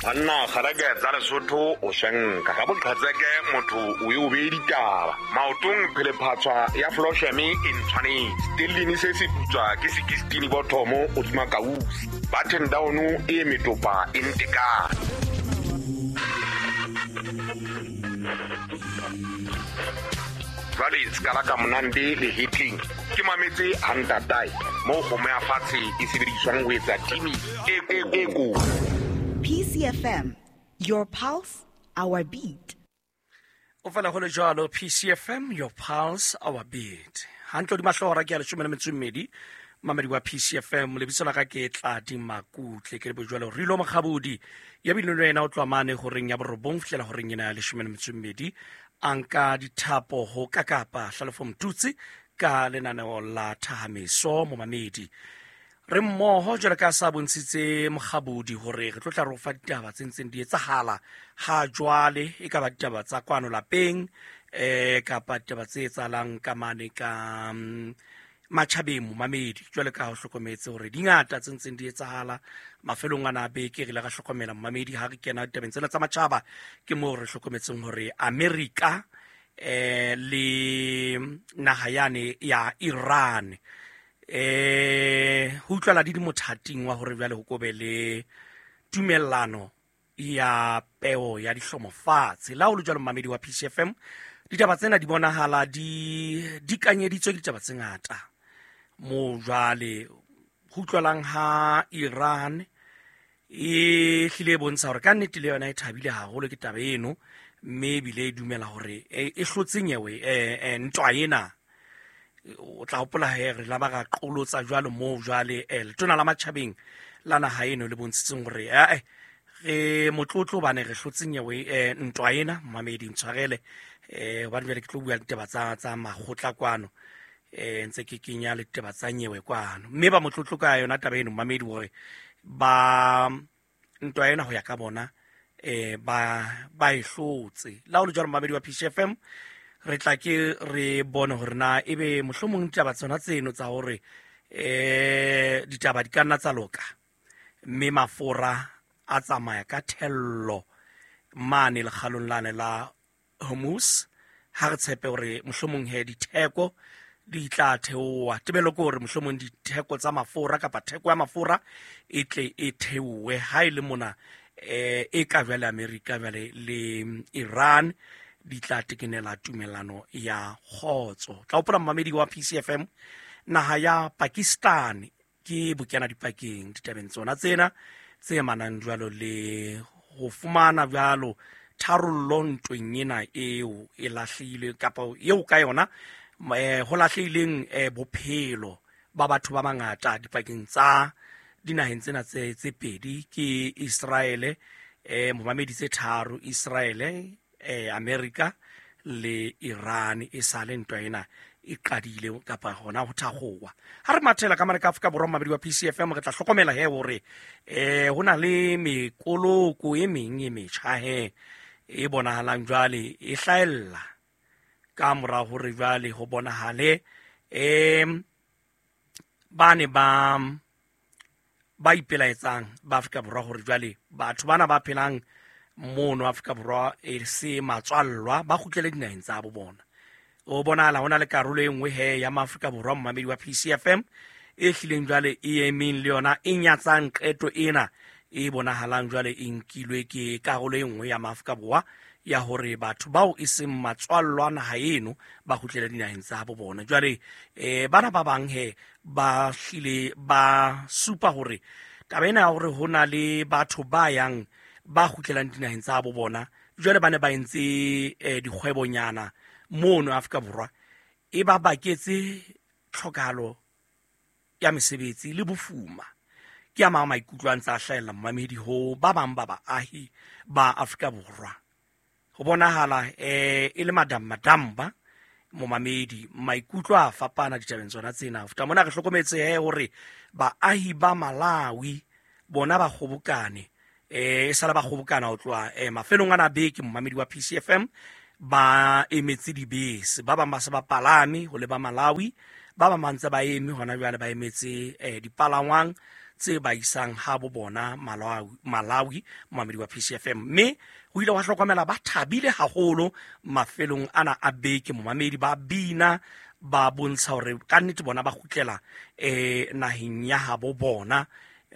Banna kgareke tsa Lesotho o swenka ka boqhetseke motho o e o bee ditaba maotong phelephatshwa ya flosheme e ntshwanetse stellini se se putswa ke sekistini bothomo o tsuma kausi button down e metopa e ntekane. Jwale sekala ka monande le hitling ke mametse hantatae moo kgomo ya fatshe e sebediswang ho etsa timi e ko. PCFM, your pulse, our beat. O fela go le jalo, PCFM, your pulse, our beat. Hantle di mahlora ke ya 12 mamedi wa PCFM. Lebitso la ka ke Tladi Makutle, ke le bojwalo Rilo Mokgabodi ya bile le wena o tloha mane horeng ya 9 fihlela horeng ena ya 12, a nka dithapo ho kakapa Hlalefo Mtutsi ka lenaneo la Thahameso. Momamedi, re mmoho jwale ka sa bontshitse Mokgabodi hore re tlo tla re fa ditaba tse ntseng di etsahala ha jwale, e ka ba ditaba tsa kwano lapeng kapa ditaba tse etsahalang ka mane ka matjhabeng. Momamedi, jwale ka ho hlokometse hore di ngata tse ntseng di etsahala mafelong ana a beke, re ile ra hlokomela momamedi ha re kena ditabeng tsena tsa matjhaba, ke moo re hlokometseng hore Amerika le naha yane ya Iran ho utlwala di di mothating wa hore jwale ho kobe le tumellano ya peo ya dihlomo fatshe. La ho le jwalo, momamedi wa PCFM, ditaba tsena di bonahala di dikanyeditswe ke ditaba tse ngata moo jwale ho utlwalang ha Iran e hlile e bontsha hore ka nnete le yona e thabile haholo ke taba eno, mme ebile e dumela hore e hlotse nyewe ntwa ena. O tla hopola he re la ba ra qolotsa jwalo moo jwale letona la matjhabeng la naha eno le bontshitseng hore re motlotlo hobane re hlotse nyewe ntwa ena. Momamedi, ntshwarele hobane jwale ke tlo bua ditaba tsa makgotla kwano, ntse ke kenya le ditaba tsa nyewe kwano, mme ba motlotlo ka yona taba eno momamedi hore ba ntwa ena ho ya ka bona ba e hlotse. La ho le jwalo, momamedi wa PCFM, re tla ke re bone hore na ebe mohlomong ditaba tsona tseno tsa hore ditaba di ka nna tsa loka mme mafora a tsamaya ka thello mane lekgalong lane la Hormuz, ha re tshepe hore mohlomong he ditheko di tla theoha. Tebello ke hore mohlomong ditheko tsa mafura kapa theko ya mafura e tle e theohe ha e le mona e ka jwale Amerika jwale le Iran di tla tekenela tumellano ya kgotso. Tla hopola momamedi wa PCFM, naha ya Pakistan ke bokena dipakeng ditabeng tsona tsena tse manang jwalo le ho fumana jwalo tharollo ntweng ena eo e lahlehile kapa eo ka yona ho lahlehileng bophelo ba batho ba bangata dipakeng tsa dinaheng tsena tse pedi ke Israele, momamedi tse tharo, Israele, Amerika le Iran. E sale ntwa ena e qadile kapa hona ho thakgowa. Ha re mathela ka mane ka Afrika Borwa, momamedi wa PCFM, re tla hlokomela he hore ho na le mekoloko e meng e metjha he e bonahalang jwale e hlahella ka mora hore jwale ho bonahale bane ba ipelaetsang ba Afrika Borwa hore jwale batho bana ba phelang mono Afrika Borwa e se matswallwa ba kgutlele dinaheng tsa bo bona. O bonahala ho na le karolo e nngwe he ya Maafrika Borwa, momamedi wa PCFM, e hlileng jwale e emeng le yona e nyatsang qeto ena e bonahalang jwale e nkilwe ke karolo e nngwe ya Maafrika Borwa ya hore batho bao e seng matswallwa naha eno ba kgutlele dinaheng tsa bo bona. Jwale bana ba bang he ba hlile ba supa hore taba ena ya hore ho na le batho ba yang ba kgutlelang dinaheng tsa bo bona jwale ba ne ba entse dikgwebonyana mono Afrika Borwa e ba baketse tlhokahalo ya mesebetsi le bofuma. Ke a mang maikutlo a ntse a hlahella momamedi ho ba bang ba baahi ba Afrika Borwa. Ho bonahala e le madam madamba momamedi, maikutlo a fapana ditabeng tsona tsena. Ho feta mona re hlokometse he hore baahi ba Malawi bona ba kgobokane, e sala ba kgobokana ho tloha mafelong ana a beke momamedi wa PCFM, ba emetse dibese, ba bang ba se ba palame ho leba Malawi, ba bang ba ntse ba eme hona jwale ba emetse dipalangwang tse ba isang ha bo bona Malawi, momamedi wa PCFM. Mme ho ile wa hlokomela ba thabile haholo mafelong ana a beke, momamedi, ba bina ba bontsha hore ka nnete bona ba kgutlela naheng ya habo bona,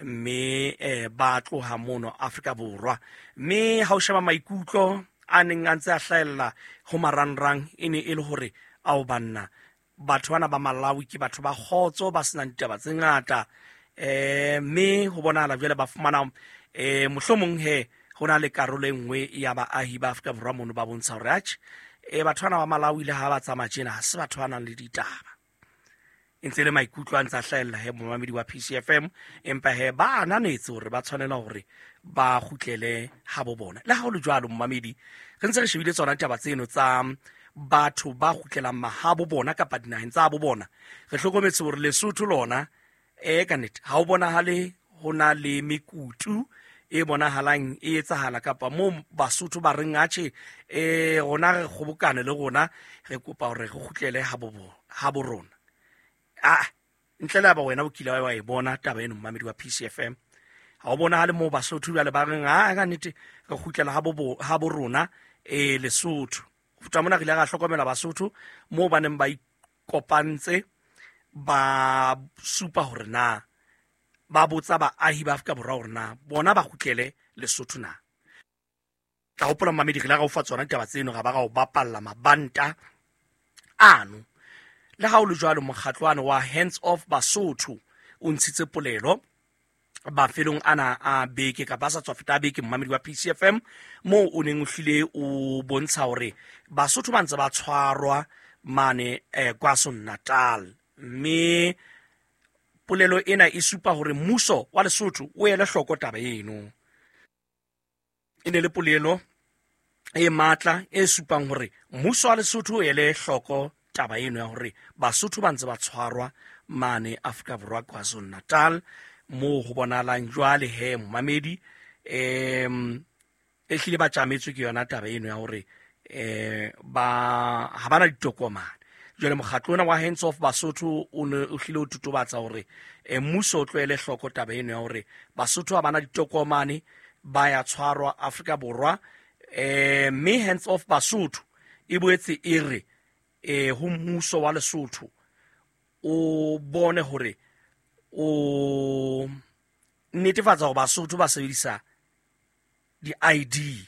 mme ba tloha mono Afrika Borwa. Mme ha o sheba maikutlo a neng a ntse a hlahella ho marangrang, e ne e le hore ao banna, batho bana ba Malawi ke batho ba kgotso, ba senang ditaba tse ngata, mme ho bonahala jwale ba fumana mohlomong he ho na le karolo e nngwe ya baahi ba Afrika Borwa mono ba bontsha hore atjhe, batho bana ba Malawi le ha ba tsamaya tjena ha se batho ba nang le ditaba. E ntse le maikutlo a ntse a hlahella he momamedi wa PCFM, empa he ba ananetse hore ba tshwanela hore ba kgutlele ha bo bona. Le ha ho le jwalo momamedi, re ntse re shebile tsona ditaba tseno tsa batho ba kgutlelang mahabo bona kapa dinaheng tsa bo bona, re hlokometse hore Lesotho lona ka nnete ha o bonahale ho na le mekutu e bonahalang e etsahala kapa moo Basotho ba reng atjhe, rona re kgobokane le rona re kopa hore re kgutlele ha bo rona. Ntle le ba wena o kile wa e bona taba eno momamedi wa PCFM, ha o bonahale moo Basotho jwale ba reng ka nnete re kgutlela ha bo rona Lesotho. Ho feta mona re ile ra hlokomela Basotho moo ba neng ba ikopantse ba supa hore na ba botsa baahi ba Afrika Borwa hore na bona ba kgutlele Lesotho na. Tla hopola momamedi, re ile ra o fa tsona ditaba tseno, ra ba ra o bapalla mabanta ano. Le ha o le jwalo, mokgatlwana wa Hands Off Basotho o ntshitse polelo mafelong ana a beke kapa a sa tswa feta a beke, momamedi wa PCFM, moo o neng o hlile o bontsha hore Basotho ba ntse ba tshwarwa mane KwaZulu-Natal. Mme polelo ena e supa hore mmuso wa Lesotho o ele hloko taba eno. E ne le polelo e matla e supang hore mmuso wa Lesotho o ele hloko taba eno ya hore Basotho ba ntse ba tshwarwa mane Afrika Borwa KwaZulu-Natal, moo ho bonahalang jwale he momamedi e hlile ba tjametswe ke yona taba eno ya hore ba ha bana ditokomane. Jwale mokgatlo ona wa Hands Off Basotho o ne o hlile o totobatsa hore mmuso o tlohele hloko taba eno ya hore Basotho ha bana ditokomane ba ya tshwarwa Afrika Borwa. Mme Hands Off Basotho e boetse e re ho mmuso wa Lesotho o bone hore o netefatsa hore Basotho ba sebedisa di-ID.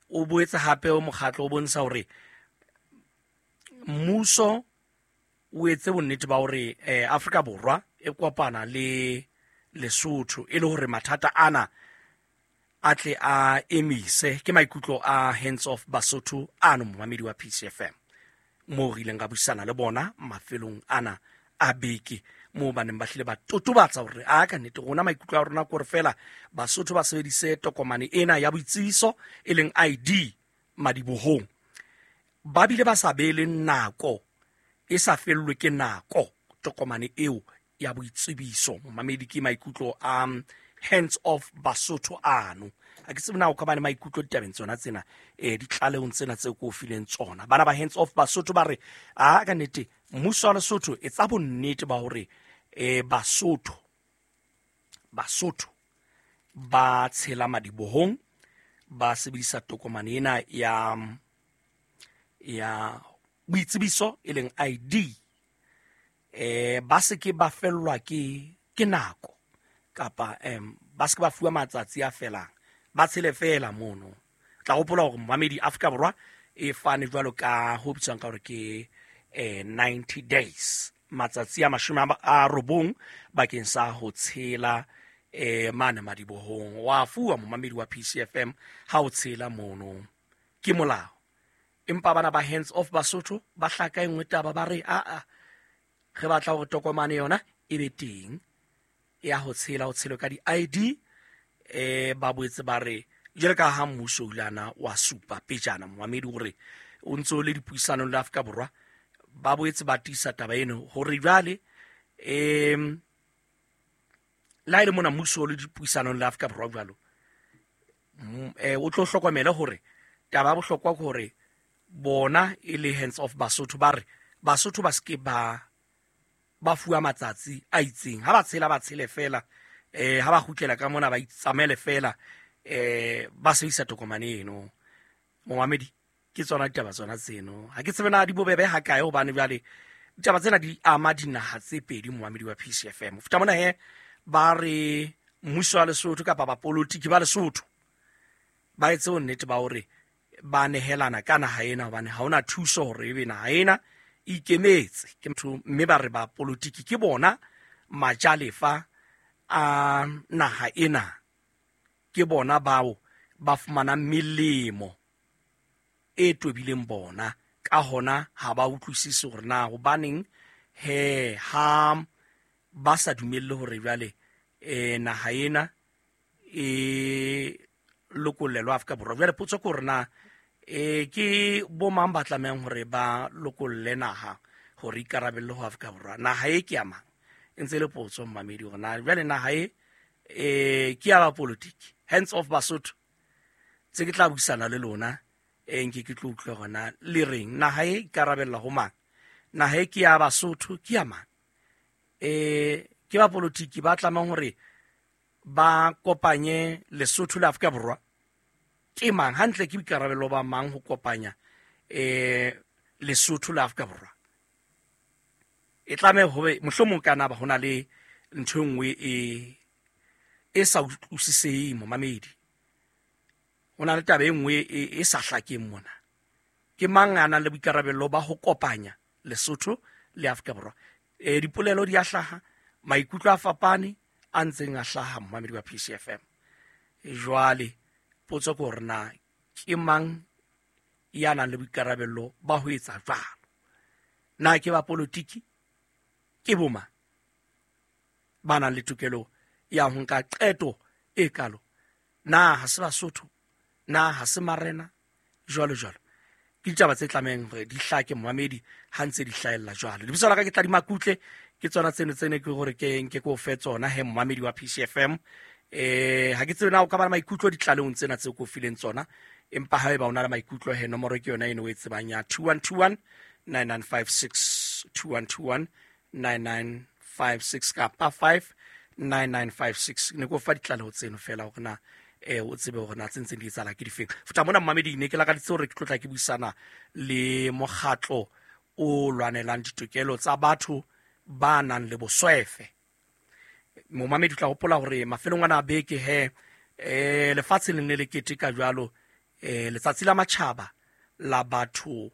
O boetse hape o mokgatlo o bontsha hore mmuso o etse bonnete ba hore Afrika Borwa e kopana le Lesotho e le hore mathata ana a tle a emise. Ke maikutlo a Hands Off Basotho ano momamedi wa PCFM, moo re ileng ra buisana le bona mafelong ana a beke, moo ba neng ba hlile ba totobatsa hore a ka nnete rona maikutlo a rona ke hore feela Basotho ba sebedise tokomane ena ya boitsebiso e leng ID madibohong, ba bile ba sa beele nako, e sa fellwe ke nako tokomane eo ya boitsebiso. Momamedi, ke maikutlo a Hands Off Basotho ano. Ha ke tsebe na o ka ba le maikutlo ditabeng tsona tsena, ditlalehong tsena tseo ke o fileng tsona. Bana ba Hands Off Basotho ba re a ka nnete mmuso wa Lesotho etsa bonnete ba hore Basotho ba tshela madibohong, ba sebedisa tokomane ena ya boitsebiso e leng ID, ba se ke ba fellwa ke nako kapa ba se ke ba fuwa matsatsi a felang, ba tshele fela mono. Tla hopola hore momamedi, Afrika Borwa e fane jwalo ka ho bitswang ka hore ke 90 days, matsatsi a 90 bakeng sa ho tshela mane madibohong. Wa fuwa momamedi wa PCFM ha o tshela mono, ke molao. Empa bana ba Hands Off Basotho ba hlaka e nngwe taba, ba re a re batla hore tokomane yona e be teng ya ho tshela, ho tshelwe ka di-ID. Ba boetse ba re jwale ka ha mmuso o ile ana wa supa pejana momamedi hore o ntso le dipuisanong le Afrika Borwa, ba boetse ba tiisa taba eno hore jwale le ha e le mona mmuso o le dipuisanong le Afrika Borwa jwalo, o tlo hlokomele hore taba ya bohlokwa ke hore bona e le Hands Off Basotho ba re Basotho ba se ke ba ba fuwa matsatsi a itseng. Ha ba tshela ba tshele feela, ha ba kgutlela ka mona ba itsamaele feela, ba sebedisa tokomane eno. Momamedi, ke tsona ditaba tsona tseno. Ha ke tsebe na di bobebe ha kae, hobane jwale ditaba tsena di ama dinaha tse pedi, momamedi wa PCFM. Ho feta mona he, ba re mmuso wa Lesotho kapa bapolitiki ba Lesotho ba etse bonnete ba hore ba nehelana ka naha ena, hobane ha hona thuso hore ebe naha ena e ikemetse. Ke motho, mme ba re bapolitiki ke bona majalefa a naha ena, ke bona bao ba fumanang melemo e tobileng bona. Ka hona ha ba utlwisise hore na hobaneng he ha ba sa dumelle hore jwale naha ena e lokollelwa Afrika Borwa. Jwale potso ke hore na ke bo mang ba tlamehang hore ba lokolle naha hore ikarabelle ho Afrika Borwa? Naha e ke ya mang? E ntse e le potso, mmamedi, hore na jwale naha e ke ya bapolitiki, hands off Basotho. Tse ke tla buisana le lona, nke ke tlo utlwa hore na le reng. Naha e ikarabella ho mang? Naha e ke ya Basotho, ke ya mang? Ke bapolitiki ba tlamehang hore ba kopanye Lesotho le Afrika Borwa? Ke mang hantle? Ke boikarabelo ba mang ho kopanya Lesotho le Afrika Borwa? E tlameha hobe mohlomong ka na ba hona le ntho e nngwe e sa utlwisiseheng, momamedi. Ho na le taba e nngwe e sa hlakeng mona. Ke mang a nang le boikarabelo ba ho kopanya Lesotho le Afrika Borwa? Dipolelo di a hlaha, maikutlo a fapane a ntseng a hlaha, momamedi wa PCFM. Jwale potso ke hore na ke mang ya nang le boikarabelo ba ho etsa jwalo? Na ke ba politiki? Ke bo mang ba nang le tokelo ya ho nka qeto e kalo? Na ha se Basotho? Na ha se marena? Jwalo jwalo. Ke ditaba tse tlamehang hore di hlake, momamedi, ha ntse di hlahella jwalo. Lebitso la ka ke Tladi Makutle, ke tsona tseno tsene ke hore ke nke ke o fe tsona he, momamedi wa PCFM. Ha ke tsebe na o ka ba le maikutlo ditlalehong tsena tseo ke o fileng tsona, empa haeba o na le maikutlo he, nomoro ke yona eno o e tsebang ya 2121 9956, 2121 9956 kapa 59956. Ne ke o fa ditlaleho tseno fela hore na o tsebe hore na tse ntseng di etsahala ke difeng. Feta mona, mmamedi, ne ke lakaditse hore ke tlotla ke buisana le mokgatlo o lwanelang ditokelo tsa batho ba nang le boswefe. Momamedi, o tla hopola hore mafelong ana a beke he, lefatshe le ne le keteka jwalo letsatsi la matjhaba la batho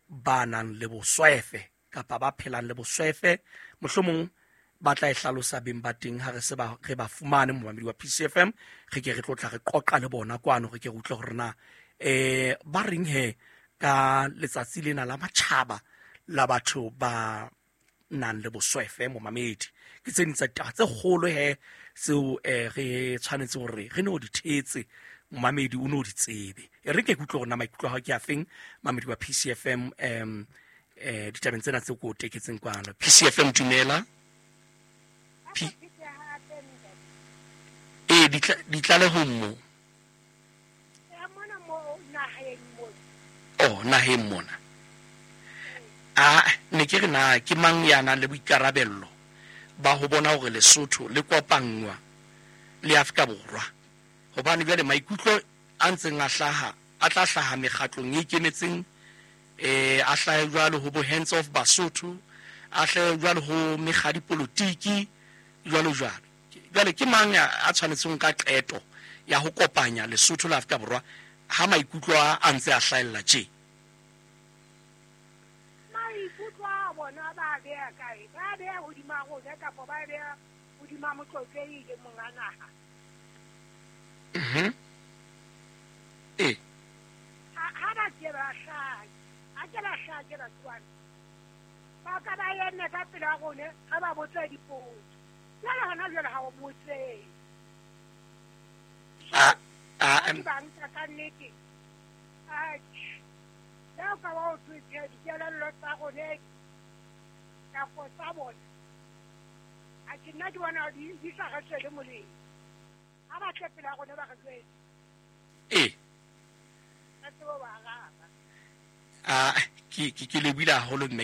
ba nang le boswefe kapa ba phelang le boswefe. Mohlomong ba tla e hlalosa beng ba teng ha re se ba re ba fumane, momamedi wa PCFM. Re ke re tlo tla re qoqa le bona kwano, re ke re utlwe hore na ba reng he ka letsatsi lena la matjhaba la batho ba nang le boswefe. Momamedi, ke tse ding tsa ditaba tse kgolo he tseo re tshwanetse hore re no di thetse, momamedi, o no di tsebe. E re ke utlwe hore na maikutlo a hao ke a feng, mamedi wa PCFM, ditabeng tsena tseo ke o teketseng kwano. PCFM, dumela. Ditlalehong mo oh naheng mona, a ne ke re na ke mang ya nang le boikarabello ba ho bona hore Lesotho le kopanngwa le Afrika Borwa? Hobane jwale maikutlo a ntseng a hlaha a tla hlaha mekgatlong e ikemetseng, a hlahe jwalo ho bo Hands Off Basotho, a hlahe jwalo ho mekga dipolotiki, jwalo jwalo. Jwale ke mang a tshwanetseng ka qeto ya ho kopanya Lesotho le Afrika Borwa ha maikutlo a ntse a hlahella tje? Maikutlo a bona ba beha kae? Ba beha hodima rona kapa ba beha hodima motlotlehi le monga naha? Ha ba ke ba hlahe, ha ke ba hlahe ke batho bana. Ba ka ba eme ka pela rona, re ba botse dipotso. Jwale hona jwale ha o botsehe. Ke ba nka ka nnete. Atjhe. Le ha o ka ba o thwe tjhe, dikelello tsa rona kapa tsa bona, atjhe, nna ke bona di sa re tswele molemo. Ha ba tle pela rona ba re jwetse. Re tsebe ho ba araba. Ke lebohile haholo mme.